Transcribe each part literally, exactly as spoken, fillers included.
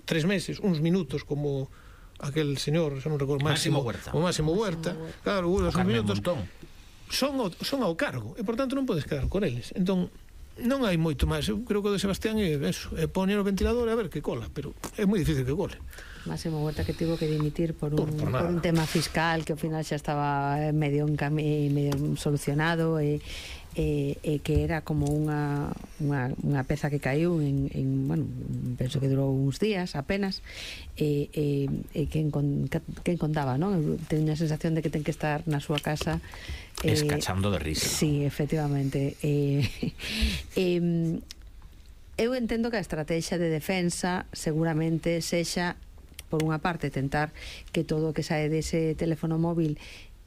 tres meses, uns minutos, como aquel señor, xa non recordo, Máximo Huerta. O Máximo Huerta, claro, uns minutos son ao, son ao cargo, e por tanto non podes quedar con eles. Entón, non hai moito máis. Eu creo que o de Sebastián é eso, é poñer o ventilador e a ver que cola, pero é moi difícil que cole. Máximo Huerta, que tivo que dimitir por un, por, por un tema fiscal que ao final xa estaba medio, medio solucionado, e E, e que era como unha, unha, unha peza que caiu en, en, bueno, penso que durou uns días apenas, e, e, e quen, quen contaba, non? Eu teño a sensación de que ten que estar na súa casa eh, escachando de risa. Sí, efectivamente. E, e, eu entendo que a estrategia de defensa seguramente sexa, por unha parte, tentar que todo o que sae dese teléfono móvil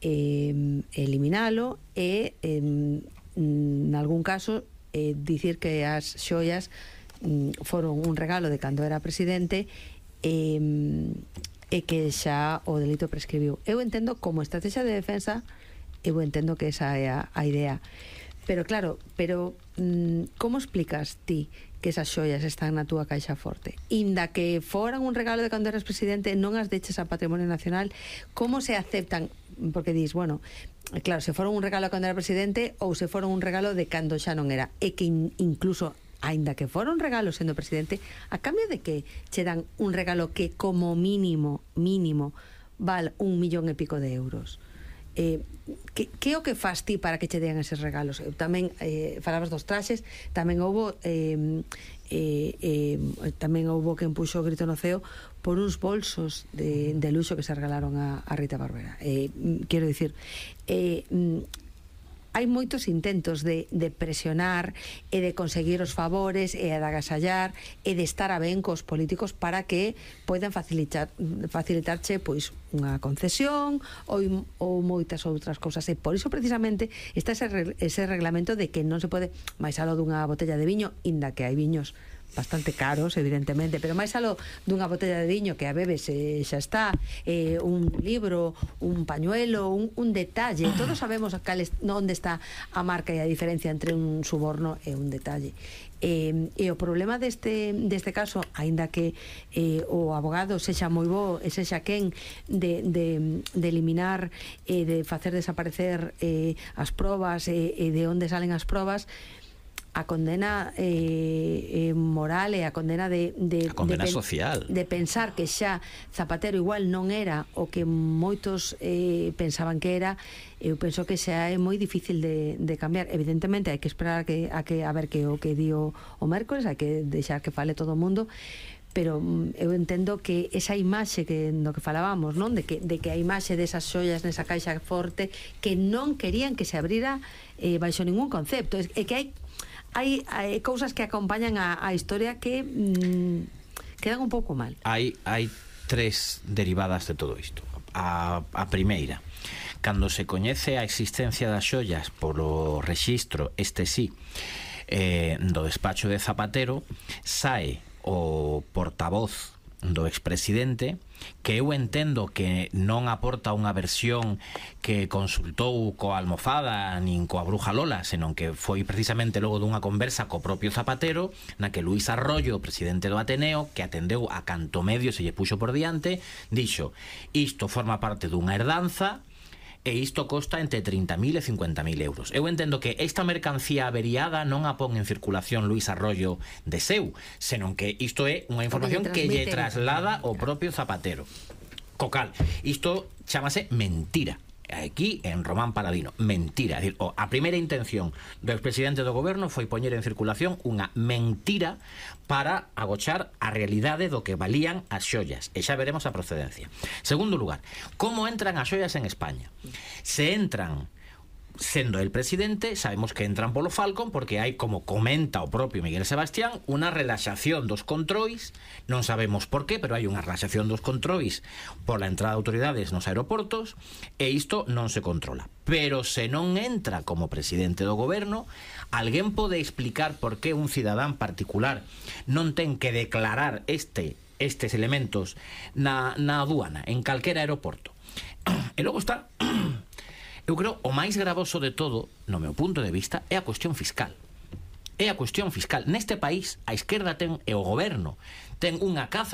eh, eliminalo, e eh, en algún caso eh, dicir que as xoias mm, foron un regalo de cando era presidente, e, e que xa o delito prescribiu. Eu entendo como estrategia de defensa, eu entendo que esa é a, a idea, pero claro, pero mm, como explicas ti que esas xoias están na túa caixa forte? Inda que foran un regalo de cando eras presidente, non as deches a Patrimonio Nacional, como se aceptan? Porque dis, bueno, claro, se foron un regalo cando era presidente ou se foron un regalo de cando xa non era, e que in, incluso, aínda que foron regalos sendo presidente, a cambio de que che dan un regalo que como mínimo, mínimo, val un millón e pico de euros. Eh, que, que o que fas ti para que che den eses regalos? Eu tamén, eh, falabas dos traxes, tamén houbo eh, eh, eh, tamén houbo quen puxo o grito no ceo por uns bolsos de, de luxo que se regalaron a, a Rita Barbera. Eh, quero dicir, eh, hai moitos intentos de, de presionar e de conseguir os favores e de agasallar e de estar a ben cos políticos para que poidan facilitar, facilitarche pois unha concesión ou, ou moitas outras cousas, e por iso precisamente está ese, ese reglamento de que non se pode máis aló dunha botella de viño, inda que hai viños bastante caros, evidentemente, pero máis aló dunha botella de viño que a bebes e xa está, eh, un libro, un pañuelo, un, un detalle, todos sabemos cales, onde está a marca e a diferencia entre un suborno e un detalle. Eh, e o problema deste, deste caso, aínda que eh, o abogado sexa moi bo e sexa quen de, de, de eliminar e eh, de facer desaparecer eh, as probas e eh, eh, de onde salen as probas, a condena eh, eh, moral e a condena de, de, a condena de, social de pensar que xa Zapatero igual non era o que moitos eh, pensaban que era, eu penso que xa é moi difícil de, de cambiar. Evidentemente hai que esperar a, que, a, que, a ver que o que dio o mércoles, hai que deixar que fale todo o mundo, pero eu entendo que esa imaxe que no que falábamos, non? De que, de que a imaxe desas xoias nesa caixa forte que non querían que se abrira eh, baixo ningún concepto, é, é que hai Hai, hai cousas que acompañan a, a historia que mm, quedan un pouco mal. Hai, hai tres derivadas de todo isto. A, a primeira, cando se coñece a existencia das xoias polo rexistro, este sí, eh, do despacho de Zapatero, sae o portavoz do expresidente, que eu entendo que non aporta unha versión que consultou coa almofada nin coa bruja Lola, senón que foi precisamente logo dunha conversa co propio Zapatero, na que Luís Arroyo, presidente do Ateneo, que atendeu a canto medio se lle puxo por diante, dixo: isto forma parte dunha herdanza e isto costa entre trinta mil e cincuenta mil euros. Eu entendo que esta mercancía averiada non a pon en circulación Luís Arroyo de seu, senón que isto é unha información que lle traslada o propio Zapatero. Cocal, isto chámase mentira. Aquí en Román Paladino, mentira. É dicir, a primeira intención do expresidente do goberno foi poñer en circulación unha mentira para agochar a realidade do que valían as xollas, e xa veremos a procedencia. Segundo lugar, como entran as xollas en España? Se entran sendo el presidente, sabemos que entran polo Falcon porque hai, como comenta o propio Miguel Sebastián, unha relaxación dos controis, non sabemos por qué, pero hai unha relaxación dos controis pola entrada de autoridades nos aeroportos, e isto non se controla. Pero se non entra como presidente do goberno, alguén pode explicar por que un cidadán particular non ten que declarar este estes elementos na, na aduana, en calquera aeroporto? E logo está... Eu creo o máis gravoso de todo, no meu punto de vista, é a cuestión fiscal. É a cuestión fiscal. Neste país, a esquerda ten, e o goberno, ten unha caza